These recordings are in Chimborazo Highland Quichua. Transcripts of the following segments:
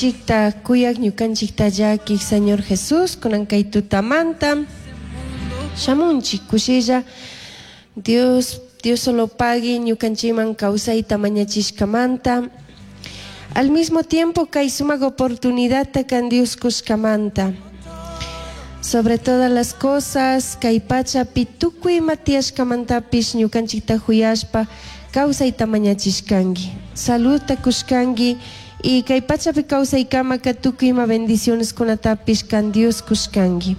Chikta kuyak ñukanchikta llakik Señor Jesús kunan kay tutamanta shamunchik kushilla Dios Dios solo pagui ñukanchikman kawsayta mañachishkamanta al mismo tiempo kay sumak oportunidadta kan Dios kushkamanta sobre todas las cosas kay pachapi tukuy ima tiyashkamantapish ñukanchikta huyashpa kawsayta mañachishkanki saludta kushkanki y kay pachapi kawsaykamaka tukuy ima bendicioneskunatapish kan Dios kushkanki.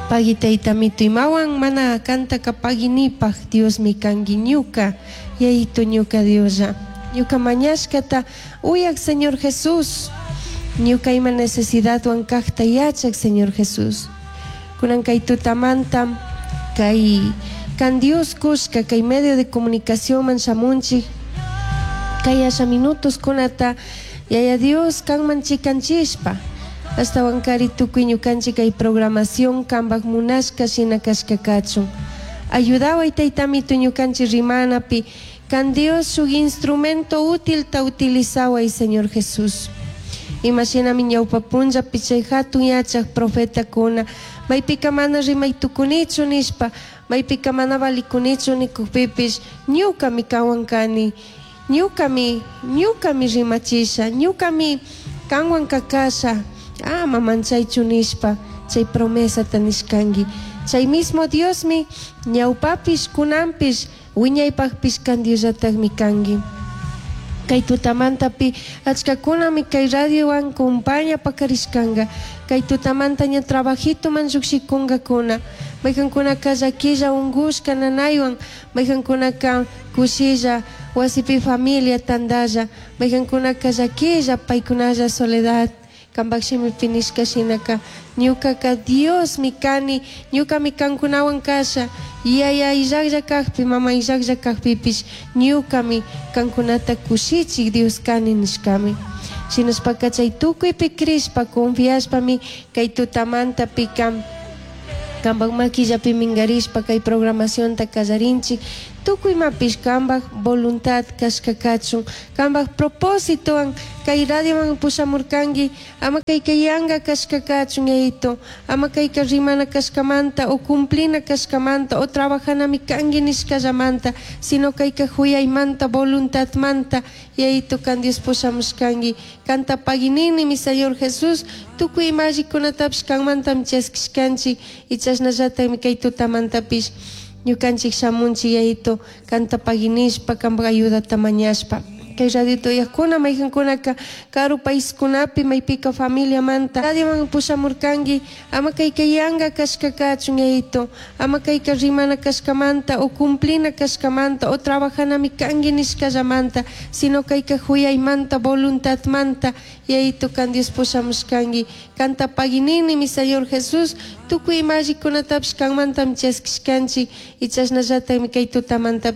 Pagui tayta mito imawan mana kantaka paguinipaj Diosmi kanki ñuka yayito ñuka Dioslla ñuka mañashkata uyak Señor Jesús ñuka ima necesidadwan kajta yachak Señor Jesús kunan kay tutamanta kay kan Dios kushka kay medio de comunicacionman shamunchik kay asha minutos kunata yaya Dios kanman chikanchishpa ashtawankari tukuy ñukanchik kay programación kanpak munashka shina kashka kachun ayudaway taytamito ñukanchik rimanapi kan Dios shuk instrumento útilta utilizaway Señor Jesús imashinami ñawpa punllapi chay hatun yachak profetakuna maypika mana rimay tukunichu nishpa maypika mana valikunichu nikukpipish ñukami kanwan kani ñukami ñukami rimachisha ñukami kanwan kakasha ama manchaychu nishpa chay promesata nishkanki chay mismo Diosmi ñawpapish kunanpish wiñaypakpish kan Diosllatakmi kanki kay tutamantapi achkakunami kay radiowan compaña pakarishkanka kay tutamanta ña trabajitoman llushikunkakuna maykankunaka llakilla unkushka nanaywan maykankunaka kushilla wasipi familia tantalla maykankunaka llakilla paykunalla soledad kanpak shimipi nishka shinaka ñukaka Diosmi kani ñukami kankunawan kasha yaya illaklla kakpi mama illaklla kakpipish ñukami kankunata kushichik Dios kani nishkami shinashpaka chay tukuypi crishpa confiashpami kay tutamantapika kanpak maquillapi minkarishpa kay programacionta kallarinchik tukuy imapish kanpak voluntad kashka kachun kanpak propósitowan kay radioman pushamurkanki ama kayka yanka kashka kachun yayito ama kayka rimana kashkamanta o cumplina kashkamanta o trabajanami kanki nishkallamanta sino kayka huyaymanta voluntadmanta yayito kan Dios pushamushkanki kanta paguinini mi Señor Jesús tukuy ima allikunatapish kanmantami chaskishkanchik y chashnallatakmi kay tutamantapish ñukanchik shamunchik yayito kanta paguinishpa kanpak ayudata mañashpa kay radiota uyakuna maykankunaka karu paiskunapi maypika familiamanta radioman pushamurkanki ama kayka yanka kashka kachun yayito ama kayka rimana kashkamanta o cumplina kashkamanta o trabajanami kanki nishkallamanta sino kayka huyaymanta voluntadmanta yayito kan Dios pushamushkanki kanta paguinini mi Señor Jesús tukuy ima allikunatapish kanmantami chaskishkanchik y chashnallatakmi kay tutamanta.